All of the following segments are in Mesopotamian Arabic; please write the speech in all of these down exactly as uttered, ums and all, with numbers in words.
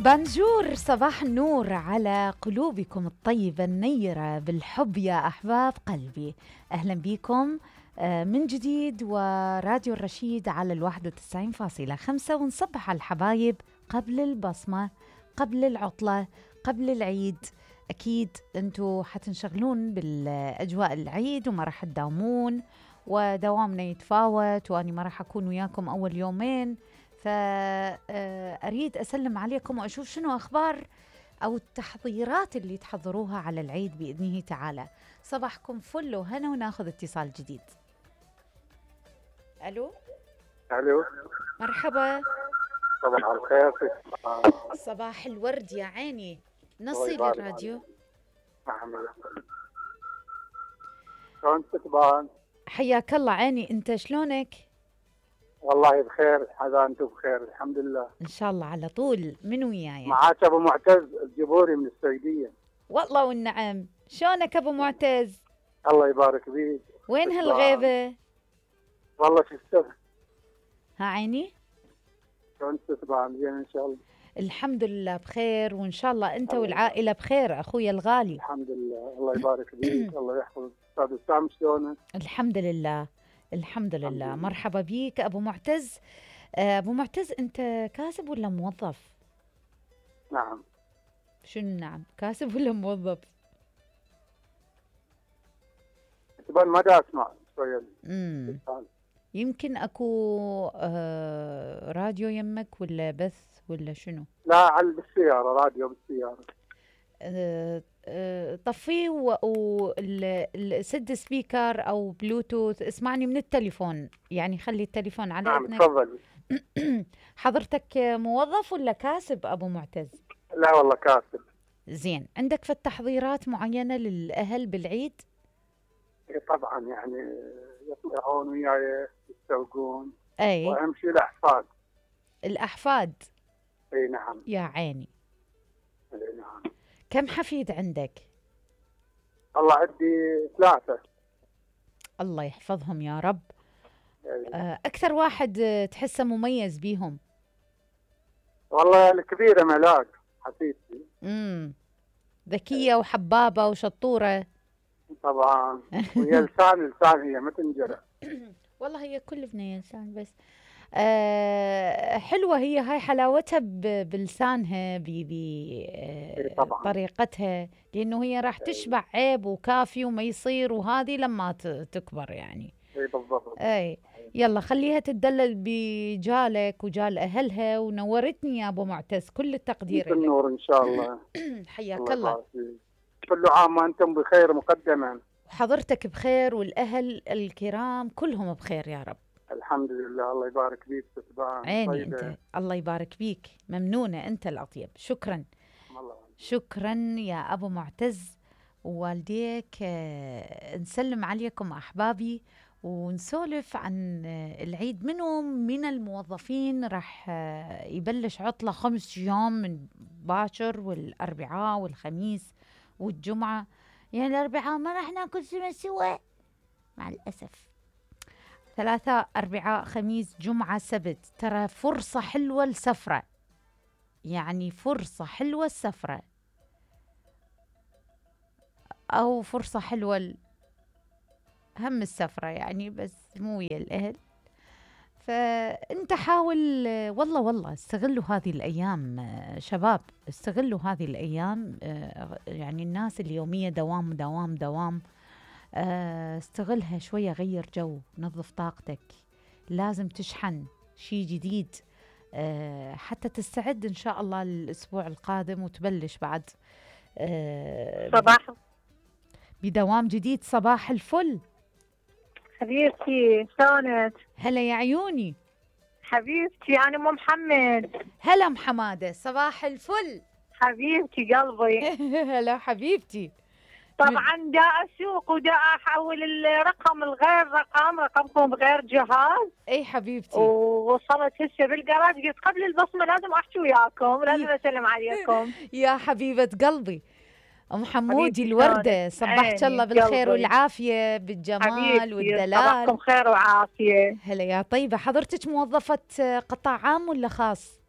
بانجور، صباح النور على قلوبكم الطيبة النيرة بالحب يا أحباب قلبي. أهلا بكم من جديد وراديو الرشيد على الواحد وتسعين فاصلة خمسة، ونصبح على الحبايب قبل البصمة، قبل العطلة، قبل العيد. أكيد أنتوا حتنشغلون بالأجواء العيد وما راح تداومون، ودوامنا يتفاوت، وأني ما راح أكون وياكم أول يومين، فأريد أسلم عليكم وأشوف شنو أخبار أو التحضيرات اللي تحضروها على العيد بإذنه تعالى. صباحكم فل وهنا، وناخذ اتصال جديد. ألو ألو، مرحبا. صباح الخير. صباح الورد يا عيني. نصي لي الراديو. شلون تكبان؟ حياك الله عيني، أنت شلونك؟ والله بخير، حدا أنتم بخير الحمد لله إن شاء الله على طول. من وياي؟ معاك أبو معتز الجبوري من السعودية. والله والنعم. شلونك أبو معتز؟ الله يبارك بيك. وين هالغيبة؟ والله شو السبب؟ ها عيني؟ شلون تكبان؟ زين إن شاء الله. الحمد لله بخير، وإن شاء الله أنت والعائلة بخير أخويا الغالي. الحمد لله، الله يبارك بيك. الله يحفظ أستاذ وسام. شلونك؟ الحمد لله الحمد لله. الحمد لله. مرحبا بيك أبو معتز. أبو معتز، أنت كاسب ولا موظف؟ نعم. شنو نعم؟ كاسب ولا موظف؟ تبان ما دا أسمع شوية. امم يمكن أكو آه راديو يمك ولا بث ولا شنو؟ لا، على بالسيارة، راديو بالسيارة. آه آه طفيه وسد سبيكر أو بلوتوث، اسمعني من التليفون، يعني خلي التليفون على نعم إذنك. تفضل. حضرتك موظف ولا كاسب أبو معتز؟ لا والله كاسب. زين، عندك في التحضيرات معينة للأهل بالعيد؟ طبعا يعني يطلعون وياي يستوقون. أي. وأهم شيء الأحفاد. الأحفاد؟ أي نعم. يا عيني. أي نعم. كم حفيد عندك؟ الله عندي ثلاثة. الله يحفظهم يا رب. أي. أكثر واحد تحسه مميز بيهم؟ والله الكبيرة ملاك حفيدتي. امم ذكية وحبابة وشطورة. طبعا. وهي لسان لسان، هي ما تنجرح. والله هي كل بنية لسان، بس آه حلوة هي، هاي حلاوتها بلسانها بطريقتها، لأنه هي راح تشبع عيب وكافي وما يصير، وهذه لما تكبر يعني. اي بالضبط. اي يلا خليها تدلل بجالك وجال أهلها، ونورتني يا أبو معتز، كل التقدير لك. النور إن شاء الله. حياك الله. كل عام وأنتم بخير مقدما. وحضرتك بخير، والأهل الكرام كلهم بخير يا رب. الحمد لله، الله يبارك بيك. عيني طيبة. أنت الله يبارك بيك، ممنونة، أنت الأطيب. شكرا الله. شكرا يا أبو معتز ووالديك. نسلم عليكم أحبابي ونسولف عن العيد. منهم من الموظفين راح يبلش عطلة خمس أيام من باكر، والأربعاء والخميس والجمعة. يعني الأربعاء ما راح ناكل سمك سوا مع الأسف. ثلاثة أربعاء خميس جمعة سبت، ترى فرصة حلوة السفرة، يعني فرصة حلوة السفرة، أو فرصة حلوة هم السفرة يعني، بس مو ويا الأهل. فأنت حاول والله والله استغلوا هذه الأيام شباب، استغلوا هذه الأيام. يعني الناس اليومية دوام دوام دوام، استغلها شوية، غير جو، نظف طاقتك، لازم تشحن شيء جديد حتى تستعد إن شاء الله للأسبوع القادم، وتبلش بعد صباح بدوام جديد. صباح الفل حبيبتي، شلونك؟ هلا يا عيوني. حبيبتي أنا أم محمد. هلا أم حمادة، صباح الفل حبيبتي قلبي. هلا حبيبتي. طبعا دا أسوق ودا أحول الرقم الغير رقم رقمكم بغير جهاز. اي حبيبتي. ووصلت هسه بالجراج، قلت قبل البصمة لازم أحكي وياكم، لازم أسلم عليكم. يا حبيبة قلبي أم حمودي الوردة، صبحت الله بالخير والعافية بالجمال والدلال. صباحكم خير وعافية. هلا يا طيبة. حضرتك موظفة قطاع عام ولا خاص؟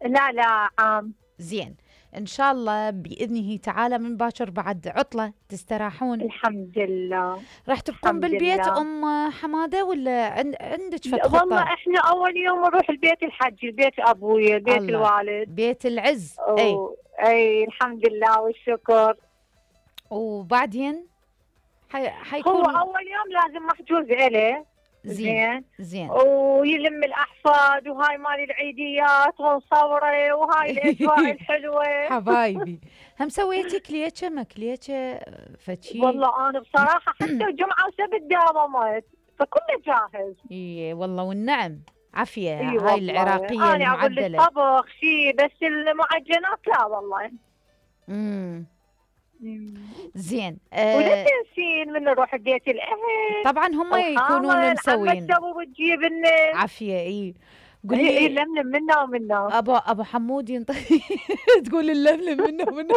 لا لا عام. زين إن شاء الله بإذنه تعالى من باكر بعد عطلة تستراحون. الحمد لله. راح تبقون الحمد بالبيت لله. أم حمادة ولا عند عندك فد والله خطة؟ احنا اول يوم نروح البيت الحج، البيت ابويا، بيت الله. الوالد. بيت العز. أي أو- اي الحمد لله والشكر. وبعدين حي... هو حيكون اول يوم لازم محجوز إله. زين زين. ويلم الاحفاد وهاي مال العيديات ونصوره وهاي الاجواء الحلوه. حبايبي هم سويتي كليتشة ما كليتشة فشي؟ والله انا بصراحه حتى جمعه وسبت داومت فكله جاهز. اي والله والنعم عافية. إي هاي والله. العراقية انا اقول لك المعدلة. طبخ شيء بس المعجنات لا والله. امم مم. زين. ولا آه تنسين من نروح بيت الاهل. طبعا هم يكونون مسوين عمك وتجيب لنا. عافية. اي اي قولي لملم منا ومنا. ابو ابو حمود ينطي تقول اللملم منه منه.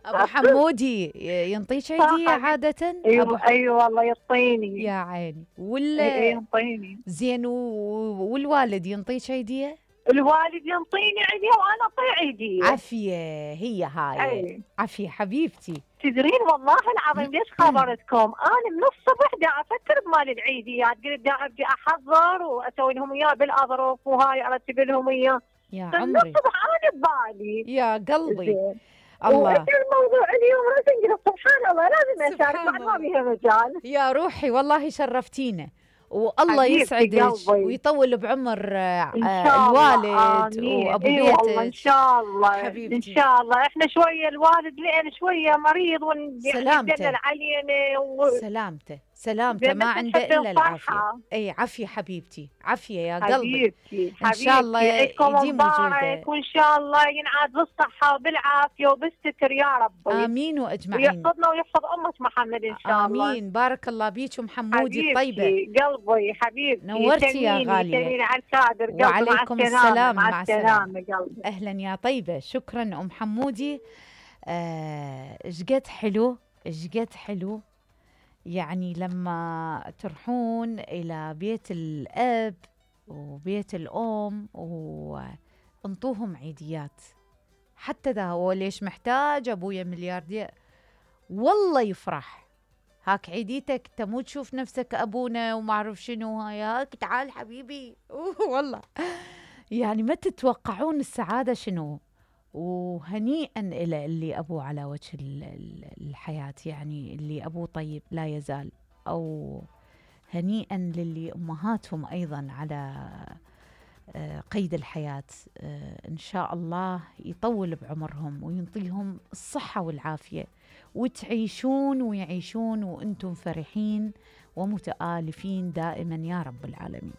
ابو حمودي ينطيك عيدية عادة؟ أبو ايوه ح- ايوه والله يعطيني. يا عيني. اي ولا يعطيني. زين و- والوالد ينطيك عيدية؟ الوالد ينطيني عيدية وانا اعطيه عيدية. عافية. هي هاي اي عافية حبيبتي. تدرين والله العظيم ليش خبرتكم؟ انا من الصبح دا افكر بمال العيديات، قلت دا ابدي احضر واسوي لهم اياه بالاظرف وهاي ارتب لهم اياه. يا من عمري الصبح انا ببالي. يا قلبي. زين. الله. وإنت الموضوع اليوم راسا قلت سبحان الله لازم اشارك سبحان بعد ما الله. بيها مجال. يا روحي والله شرفتينا والله حبيبتي يسعدك قلبي. ويطول بعمر آه، ان آه، شاء الله. الوالد آمين. وابو إي والله ان بيتك. شاء الله. حبيبتي. ان شاء الله احنا شويه الوالد لان شويه مريض سلامته. ويدلل علينا و... سلامته سلامته زين ما بس عنده نحب الا العافيه. الصحة. اي عافيه حبيبتي عافيه يا قلبي. حبيبتي إن شاء الله عيدكم يديم مبارك وجوده. وان شاء الله ينعاد بالصحه وبالعافيه وبالستر يا رب. امين واجمعين. ويحفظنا ويحفظ امه محمد ان شاء الله. امين. بارك الله بيك ام حمودي حبيبتي الطيبه. قلبي حبيبتي. نورتي يا سميني- غالية. سميني على الكادر قلبي. وعليكم مع السلامة. السلام. مع مع السلامه قلبي. اهلا يا طيبه. شكرا ام حمودي. آه، ايش قد حلو ايش قد حلو يعني لما تروحون الى بيت الاب وبيت الام وانطوهم عيديات. حتى ذا هو ليش محتاج ابويا ملياردير والله يفرح. هاك عيديتك تمو تشوف نفسك ابونا وما اعرف شنو هاي هاك تعال حبيبي. أوه والله يعني ما تتوقعون السعاده شنو. وهنيئا إلى اللي أبوه على وجه ال- ال- الحياة يعني اللي أبوه طيب لا يزال. أو هنيئا للي أمهاتهم أيضا على آه، قيد الحياة. آه، إن شاء الله يطول بعمرهم وينطيهم الصحة والعافية وتعيشون ويعيشون وأنتم فرحين ومتآلفين دائما يا رب العالمين.